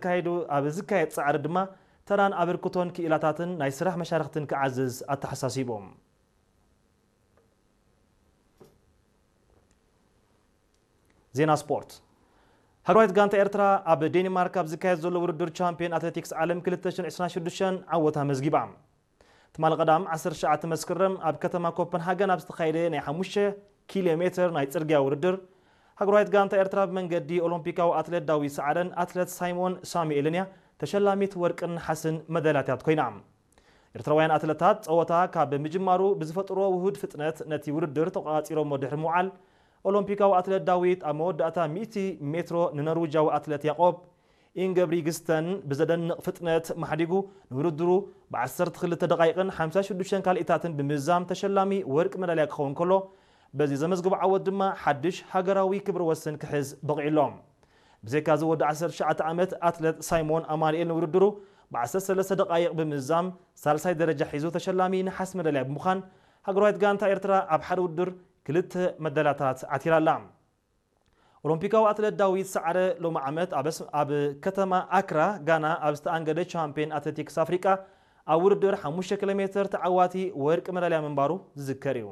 ዝካየዱ፣ ኣብ ዝካየድ ጻዕሪ ድማ ተራን ኣበርክቶን ክኢላታትን ናይ ስራሕ መሻርኽትን ክዓዝዝ ኣተሓሳሲቦም። ዜና ስፖርት። ሃገራዊት ጋንታ ኤርትራ ኣብ ዴንማርክ ኣብ ዝካየድ ዘሎ ውድድር ቻምፒዮን ኣትሌቲክስ ዓለም ክልተ ሽሕን ዕስራን ሽዱሽተን ዓወት ኣመዝጊባ። ትማሊ ቀዳም ዓሰርተ ትሽዓተ መስከረም ኣብ ከተማ ኮፐንሃገን ኣብ ዝተኻየደ ናይ ሓሙሽተ ኪሎ ሜትር ናይ ጽርግያ ውድድር፣ ሃገራዊት ጋንታ ኤርትራ ብመንገዲ ኦሎምፒካዊ ኣትሌት ዳዊት ሰዓረን ኣትሌት ሳይሞን ሳሙኤልን እያ ተሸላሚት ወርቅን ነሓስን መዳልያታት ኮይና። ኤርትራውያን ኣትሌታት ጸወታ ካብ ምጅማሩ ብዝፈጥርዎ ውሁድ ፍጥነት ነቲ ውድድር ተቖጻጺሮሞ ድሕሪ ምውዓል፣ ኦሎምፒካዊ ኣትሌት ዳዊት ኣብ መወዳእታ ሚእቲ ሜትሮ ንኖርዊጃዊ ኣትሌት ያቆብ ኢንገብሪግስተን ብዘደንቕ ፍጥነት ማሕዲጉ ንውድድሩ ብ ዓሰርተ ክልተ ደቓይቕን ሓምሳ ሽዱሽተን ካልኢታትን ብምዝዛም ተሸላሚ ወርቂ መዳልያ ክኸውን ከሎ፣ በዚ ዘመዝግቦ ዓወት ድማ ሓድሽ ሃገራዊ ክብረ ወሰን ክሕዝ በቒዑ ኣሎ። ብዘይካ እዚ ወዲ ዓሰርተ ትሽዓተ ዓመት ኣትሌት ሳይሞን ኣማኑኤል ንውድድሩ ብ ዓሰርተ ሰለስተ ደቓይቕ ብምዝዛም ሳልሳይ ደረጃ ሒዙ ተሸላሚ ነሓስ መዳልያ ብምዃን፣ ሃገራዊት ጋንታ ኤርትራ ኣብ ሓደ ውድድር ክልተ መዳልያታት ዓቲራ ኣላ። ኦሎምፒካዊ ኣትሌት ዳዊት ሰዓረ ሎሚ ዓመት ኣብ ኣስ-፣ ኣብ ከተማ ኣክራ ጋና ኣብ ዝተኣንገደ ቻምፒዮን ኣትሌቲክስ ኣፍሪቃ ኣብ ውድድር ሓሙሽተ ኪሎ ሜትር ተዓዋቲ ወርቂ መዳልያ ምንባሩ ዝዝከር እዩ።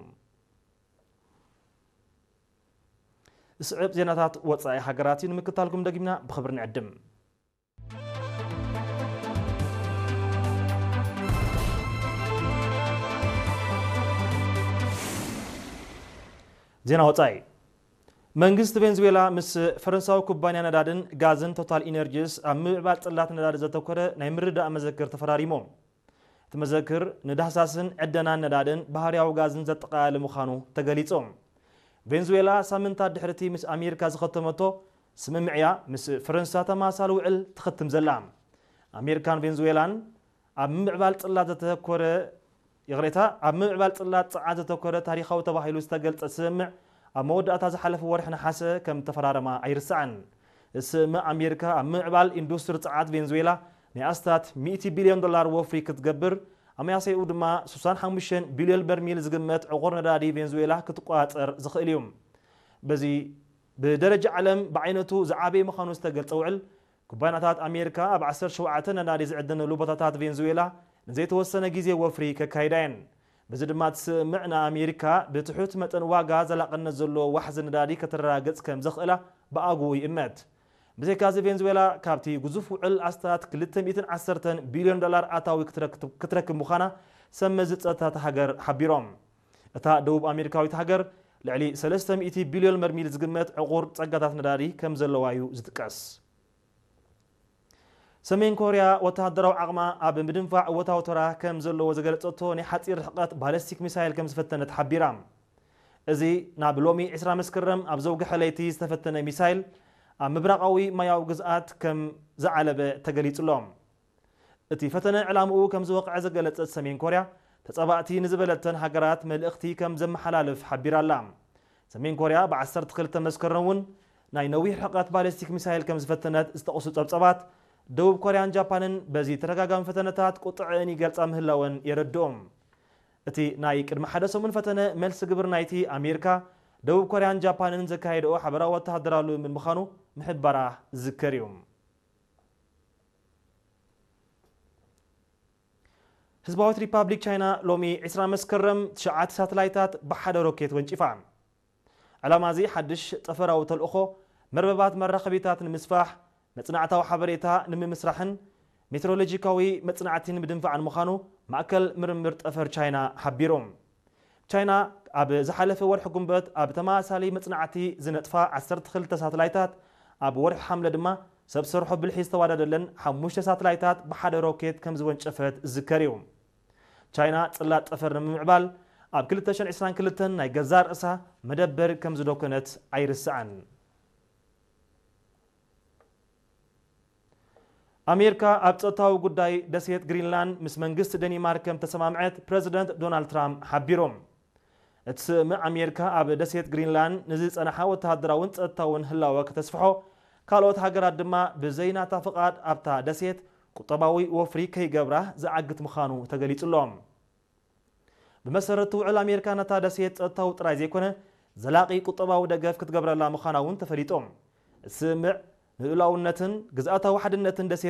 ዝስዕብ ዜናታት ወጻኢ ሃገራት እዩ፣ ንምክታልኩም ደጊምና ብኽብሪ ንዕድም። ዜና ወጻኢ። መንግስቲ ቬንዙዌላ ምስ ፈረንሳዊ ኩባንያ ነዳድን ጋዝን ቶታል ኢነርጂስ ኣብ ምምዕባል ጽላት ነዳዲ ዘተኮረ ናይ ምርድዳእ መዘክር ተፈራሪሞም። እቲ መዘክር ንዳህሳስን ዕደናን ነዳድን ባህርያዊ ጋዝን ዘጠቓለለ ምዃኑ ተገሊጹ። ቬንዙዌላ ሳምንታት ድሕሪ እቲ ምስ ኣሜሪካ ዝኸተመቶ ስምምዕያ ምስ ፈረንሳ ተመሳሳሊ ውዕል ትኸትም ዘላ። ኣሜሪካን ቬንዙዌላን ኣብ ምምዕባል ጽላት ዘተኮረ፣ ይቕሬታ፣ ኣብ ምምዕባል ጽላት ጸዓት ዘተኮረ ታሪኻዊ ተባሂሉ ዝተገልጸ ስምምዕ ኣብ መወዳእታ ዝሓለፈ ወርሒ ነሓሰ ከም ተፈራረማ ኣይርሳዕን። እዚ ስምምዕ ኣሜሪካ ኣብ ምምዕባል ኢንዱስትሪ ጸዓት ቬንዙዌላ ናይ ኣስታት ሚእቲ ቢልዮን ዶላር ወፍሪ ክትገብር፣ ኣመያሰይኡ ድማ ስሳን ሓሙሽተን ቢልዮን በርሚል ዝግመት ዕቑር ነዳዲ ቬንዙዌላ ክትቆጻጸር ዝኽእል እዩ። በዚ ብደረጃ ዓለም ብዓይነቱ ዝዓበየ ምዃኑ ዝተገልጸ ውዕል፣ ኩባንያታት ኣሜሪካ ኣብ ዓሰርተ ሸውዓተ ነዳዲ ዝዕደነሉ ቦታታት ቬንዙዌላ ንዘይተወሰነ ግዜ ወፍሪ ከካይዳ እየን። በዚ ድማ እቲ ስምምዕ ንኣሜሪካ ብትሑት መጠን ዋጋ ዘላቕነት ዘለዎ ዋሕዚ ነዳዲ ከተረጋግጽ ከም ዘኽእላ ብኣግኡ ይእመት። ብዘይካዚ ቬንዙዌላ ካብቲ ግዙፍ ውዕል ኣስታት ክልተ ሚእትን ዓሰርተን ቢልዮን ዶላር ኣታዊ ክትረክ-፣ ክትረክብ ምዃና ሰብ መዚ ጸጥታ እታ ሃገር ሓቢሮም። እታ ደቡብ ኣሜሪካዊት ሃገር ልዕሊ ሰለስተ ሚእቲ ቢልዮን በርሚል ዝግመት ዕቑር ጸጋታት ነዳዲ ከም ዘለዋ እዩ ዝጥቀስ። ሰሜን ኮርያ ወተሃደራዊ ዓቕማ ኣብ ምድንፋዕ እወታዊ ተራ ከም ዘለዎ ዝገለጸቶ ናይ ሓጺር ርሕቀት ባለስቲክ ሚሳይል ከም ዝፈተነት ሓቢራ። እዚ ናብ ሎሚ ዕስራ መስከረም ኣብ ዘውግሐ ለይቲ ዝተፈተነ ሚሳይል ኣብ ምብራቓዊ ማያዊ ግዝኣት ከም ዝዓለበ ተገሊጹ ኣሎ። እቲ ፈተነ ዕላምኡ ከም ዝወቕዐ ዝገለጸት ሰሜን ኮርያ፣ ተጻባእቲ ንዝበለተን ሃገራት መልእኽቲ ከም ዘመሓላልፍ ሓቢራ ኣላ። ሰሜን ኮርያ ብ ዓሰርተ ክልተ መስከረም እውን ናይ ነዊሕ ርሕቀት ባሊስቲክ ሚሳይል ከም ዝፈተነት ዝጠቕሱ ጸብጸባት፣ ደቡብ ኮርያን ጃፓንን በዚ ተደጋጋሚ ፈተነታት ቁጥዐን ይገልጻ ምህላወን የረድኦም። እቲ ናይ ቅድሚ ሓደ ሰሙን ፈተነ መልሲ ግብሪ ናይቲ ኣሜሪካ፣ ደቡብ ኮርያን ጃፓንን ዘካየድኦ ሓበራዊ ወተሃደራዊ ልምምድ ምዃኑ ምሕባራ ዝዝከር እዩ። ህዝባዊት ሪፓብሊክ ቻይና ሎሚ ዕስራ መስከረም ትሽዓተ ሳተላይታት ብሓደ ሮኬት ወንጪፋ። ዕላማ እዚ ሓድሽ ጠፈራዊ ተልእኾ መርበባት መራኸቢታት ንምስፋሕ፣ መጽናዕታዊ ሓበሬታ ንምምስራሕን ሜትሮሎጂካዊ መጽናዕቲ ንምድንፋዕን ምዃኑ ማእከል ምርምር ጠፈር ቻይና ሓቢሩ። ቻይና ኣብ ዝሓለፈ ወርሒ ጉንበት ኣብ ተመሳሳሊ መጽናዕቲ ዝነጥፋ ዓሰርተ ክልተ ሳተላይታት፣ ኣብ ወርሒ ሓምለ ድማ ሰብ ሰርሖ ብልሒ ዝተዋደደለን ሓሙሽተ ሳተላይታት ብሓደ ሮኬት ከም ዝወንጨፈት ዝዝከር እዩ። ቻይና ጽላት ጠፈር ንምምዕባል ኣብ ክልተ ሽሕን ዕስራን ክልተን ናይ ገዛእ ርእሳ መደበር ከም ዝደኮነት ኣይርስዕን። ኣሜሪካ ኣብ ጸጥታዊ ጉዳይ ደሴት ግሪንላንድ ምስ መንግስቲ ደኒማርክ ከም ተሰማምዐት ፕረዚደንት ዶናልድ ትራምፕ ሓቢሩ። እቲ ስምምዕ ኣሜሪካ ኣብ ደሴት ግሪንላንድ ንዝጸንሓ ወተሃደራውን ጸጥታውን ህላወ ከተስፍሖ፣ ካልኦት ሃገራት ድማ ብዘይ ናታ ፍቓድ ኣብታ ደሴት ቁጠባዊ ወፍሪ ከይገብራ ዝዓግት ምዃኑ ተገሊጹ ኣሎ። ብመሰረት እቲ ውዕል ኣሜሪካ ነታ ደሴት ጸጥታዊ ጥራይ ዘይኮነ ዘላቒ ቁጠባዊ ደገፍ ክትገብረላ ምዃና እውን ተፈሊጡ። እቲ ስምምዕ ንልኡላውነትን ግዝኣታዊ ሓድነትን ደሴት